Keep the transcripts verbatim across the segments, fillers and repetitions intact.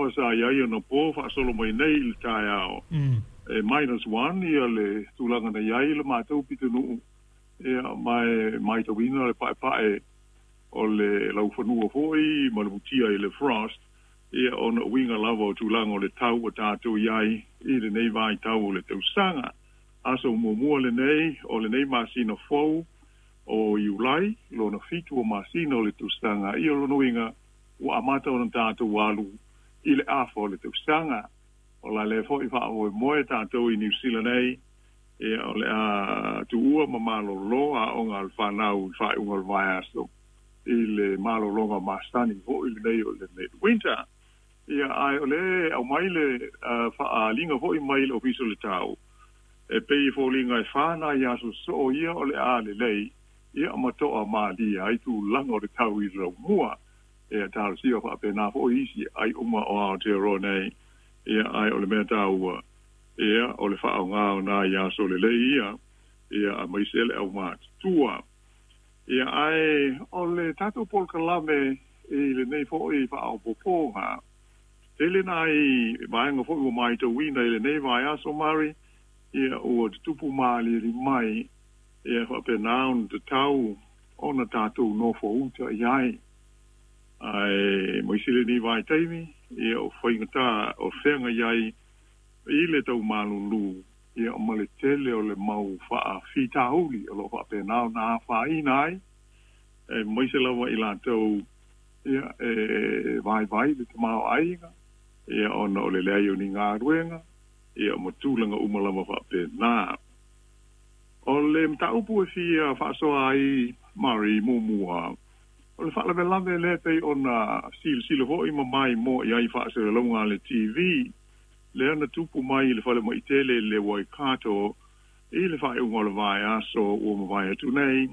lava sa iai ona po faasolo mai nei i le taeao. Mm. E minus one ia le tulaga na iai le matou pitonuu, ia ma e matauina le paepae o le laufanua foi ma le mutia i le frost, ia ona uiga lava o tulaga o le tau ua tatou i ai i lenei vaitau o le tausaga. Aso muamua lenei o lenei masina fou o Iulai, lona fitu o masina o le tausaga, ia o lona uiga ua amata ona tatou alu i le afa o le tausaga. O la lea foi faamoemoe tatou i Niu Sila nei, ia o le a tuua ma malolo aoga a le fanau i le faaiuga o le vaiaso i le malologa masani foi lenei o le midwinter. Ia ae o le aumai le uh, faaaliga foi mai le Ofisa o le Tau, e pei e foliga e fa nai aso soo ia o le a lelei, ia ma toa malie ai tulaga o le tau i le laumua. Ia talosia faapena foi isi ai uma o Aotearoa nei, ia ae o le mea taua, ia o le faaaoga o nai aso lelei ia, ia aemaise le aumatutua. Ia ae o le tatou polokalame i lenei foi faaopoopoga, tele nai vaega foi ua matauina i lenei vaiaso Mari, ia ua tutupu malieli mai, ia faapena ona tatau ona tatou nofo uta i ai. Ae maise lenei vaitaimi, ia o faigata o feagai ai i le taumalulu, ia ma le tele o le mau faafitauli o loo faapena ona afaina ai, e maise lava i latou ia e vaivai le tamaoaiga, ia ona o le leai o ni galuega, ia ma tulaga uma lava faapena. O le mataupu e fia faasoa ai Mari muamua, o le faalavelave lea pei ona silasila foi ma maimoa i ai faasalalauga a le T V, lea na tupu mai i le falemai tele i le Waikato i le faaiuga o le vaiaso ua mavae atu nei,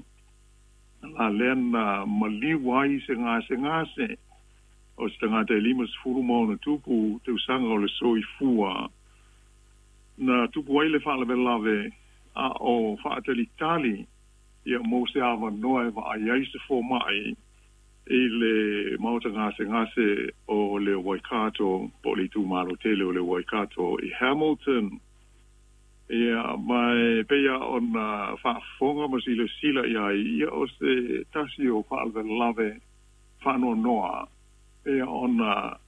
la lea na maliu ai se gasegase o se tagata e limasefulu ma ona tupu tausaga o le soifua. Na tupu ai le faalavelave a o faatalitali ia mo se avanoa e vaai ai se fomai i le maota gasegase o le Waikato, po o le itumalo tele o le Waikato i Hamilton. Ia ma e pei ona faafofoga ma silasila i ai, ia o se tasi o faalavelave faanoanoa, ia ona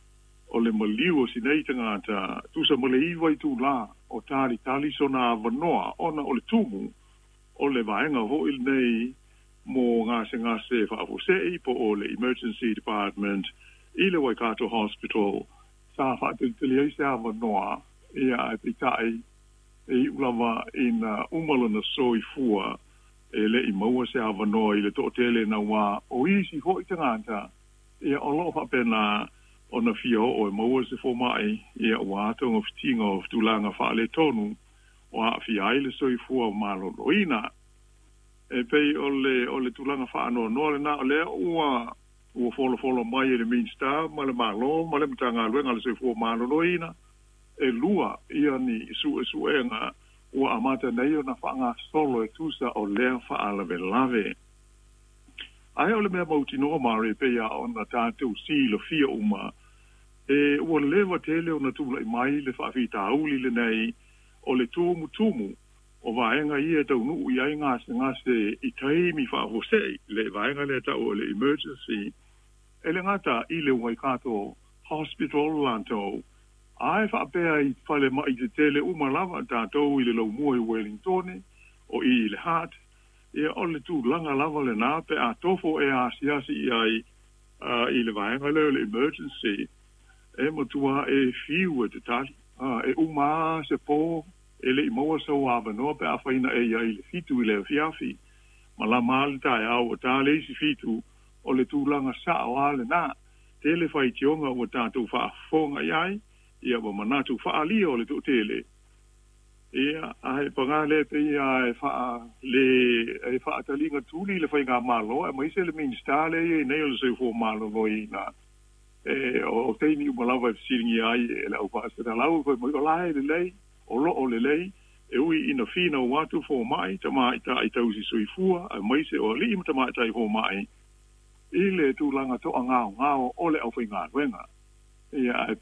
o le maliu o sinei tagata tusa ma le iva itulā o talitali sona avanoa, ona o le tumu o le vaega foi lenei mo gasegase faafuasei po o le Emergency Department i le Waikato Hospital. Sa faatalitali ai se avanoa, ia ae peitai e iu lava ina uma lona soifua, e le'i maua se avanoa i le toatele naua o isi foi tagata, ia o loo faapena ona fia oo e maua se fomai, ia ua togafitiga o tulaga faaletonu o aafia ai le soifua maloloina. E pei o le o le tulaga faanoanoa lena, o lea ua ua folofolo mai e le Minista ma le Malo ma le Matagaluega o le Soifua Maloloina, e lua ia ni suesuega ua amata nei ona faagasolo e tusa o lea faalavelave. Ae o le mea mautinoa Mari, pei a ona tatou silafia uma, e ua leva tele ona tulai mai le faafitauli lenei o le tumutumu o vaega ia e taunuu i ai gasegase i taimi faafuasei, le vaega lea tau o le emergency, e le gata i le Waikato Hospital latou, ae faapea i falemai tetele uma lava tatou i le laumua i Wellington o i le Heart, ia o le tulaga lava lena pe a tofo e asiasi i ai uh, i le vaega lea o le emergency, e matua e fiu e te tali, uh, e uma se po e le'i maua sau avanoa pe afaina e iai le fitu i le afiafi, ma lama le taeao ua ta le isi fitu, o le tulaga sa'o a lenā. Tele faitioga ua tatou faafofoga i ai, ia ua manatu faaalia o le toatele. Ia ae pagā lea pei a e faa le e faataliga tuli le faigamalo aemaise le Minista lea i ai nei o le Soifua Maloloina, e o taimi uma lava e fesiligia ai e le aufaasalalau fai mai o la e lelei, o loo lelei, e ui ina finau atu fomai tamaitai tausi soifua aemaise o alii ma tamaitai fomai i le tulaga toagaogao o le aufaigaluega. Ia ae